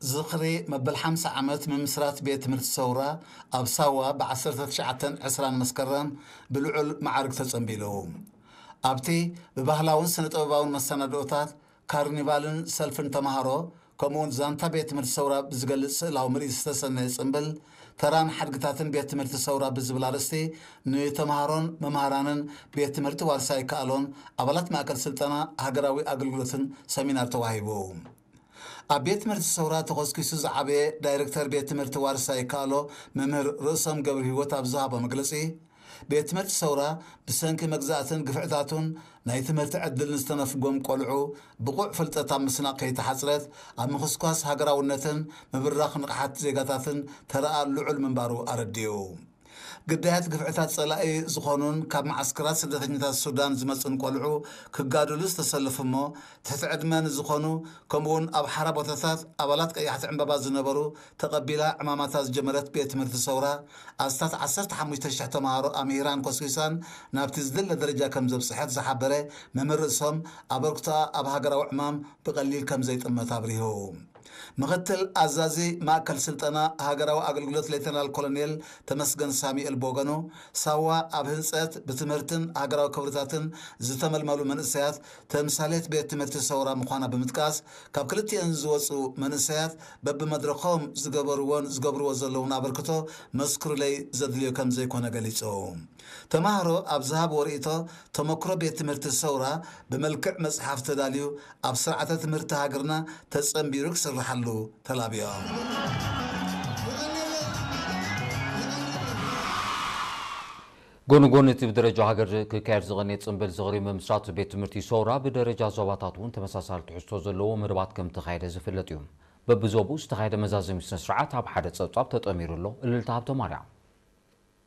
ዝኽሪ መበል ሓምሳ ዓመት ምምስራት ቤት ትምህርቲ ሰውራ ኣብ ሳዋ ብ19 20 መስከረም ብልዑል መዓርግ ተጸንቢሉ። ኣብቲ ብባህላውን ስነ ጥበባውን መሰናድኦታት፣ ካርኒቫልን ሰልፍን ተማሃሮ፣ ከምኡውን ዛንታ ቤት ትምህርቲ ሰውራ ብዝገልጽ ስእላዊ ምርኢት ዝተሰነየ ጽምብል፣ ተራን ሓድግታትን ቤት ትምህርቲ ሰውራ ብዝብል ኣርእስቲ ንተማሃሮን መምሃራንን ቤት ትምህርቲ ዋርሳይ ከኣሎን ኣባላት ማእከል ስልጠና ሃገራዊ ኣገልግሎትን ሰሚናር ተዋሂቡ። ኣብ ቤት ትምህርቲ ሰውራ ተኾስኪሱ ዝዓበየ ዳይሬክተር ቤት ትምህርቲ ዋርሳይ ከኣሎ መምህር ርእሶም ገብረ ህይወት ኣብ ዝሃቦ መግለጺ፣ ቤት ትምህርቲ ሰውራ ብሰንኪ መግዛእትን ግፍዕታቱን ናይ ትምህርቲ ዕድል ንዝተነፍጎም ቆልዑ ብቑዕ ፍልጠት ኣብ ምስናቕ ከይተሓጽረት ኣብ ምኽስኳስ ሃገራውነትን ምብራኽ ንቕሓት ዜጋታትን ተረኣ ልዑል ምንባሩ ኣረዲኡ። ግዳያት ግፍዕታት ጸላኢ ዝኾኑን ካብ መዓስከራት ስደተኛታት ሱዳን ዝመጹን ቆልዑ ክጋደሉ ዝተሰለፉ እሞ ትሕቲ ዕድመ ንዝኾኑ ከምኡውን ኣብ ሓራ ቦታታት ኣባላት ቀያሕቲ ዕምባባ ዝነበሩ ተቐቢላ ዕማማታ ዝጀመረት ቤት ትምህርቲ ሰውራ ኣስታት 15,000 ተምሃሮ ኣምሂራን ኮስኪሳን ናብቲ ዝድለ ደረጃ ከም ዘብጽሐት ዝሓበረ መምህር ርእሶም ኣበርክቶኣ ኣብ ሃገራዊ ዕማም ብቐሊል ከም ዘይጥመት ኣብሪሁ። ምኽትል ኣዛዚ ማእከል ስልጠና ሃገራዊ ኣገልግሎት ሌተናል ኮሎኔል ተመስገን ሳሙኤል ቦገኑ ሳዋ ኣብ ህንጸት ብትምህርትን ሃገራዊ ክብርታትን ዝተመልመሉ መንእሰያት ተምሳሌት ቤት ትምህርቲ ሰውራ ምዃና ብምጥቃስ ካብ ክልቲኤን ዝወጹ መንእሰያት በብመድረኾም ዝገበርዎን ዝገብርዎ ዘለውን ኣበርክቶ መስክሩለይ ዘድልዮ ከም ዘይኮነ ገሊጹ። ተማሃሮ ኣብ ዝሃብዎ ርእይቶ ተመክሮ ቤት ትምህርቲ ሰውራ ብመልክዕ መጽሓፍ ተዳልዩ ኣብ ስርዓተ ትምህርቲ ሃገርና ተጸንቢሩ ክስርሓሉ ተላብዮም። ጎኒ ጎኒ እቲ ብደረጃ ሃገር ክካየድ ዝቐነየ ጽምብል ዝኽሪ ምምስራት ቤት ትምህርቲ ሰውራ ብደረጃ ዞባታት እውን ተመሳሳሊ ትሕዝቶ ዘለዎ መደባት ከም ተኻየደ ዝፍለጥ እዩ። በብዞብኡ ዝተኻየደ መዛዘሚ ስነ ስርዓት ኣብ ሓደ ጸብጻብ ተጠሚሩ ኣሎ። እልልታ ሃብተ ማርያም።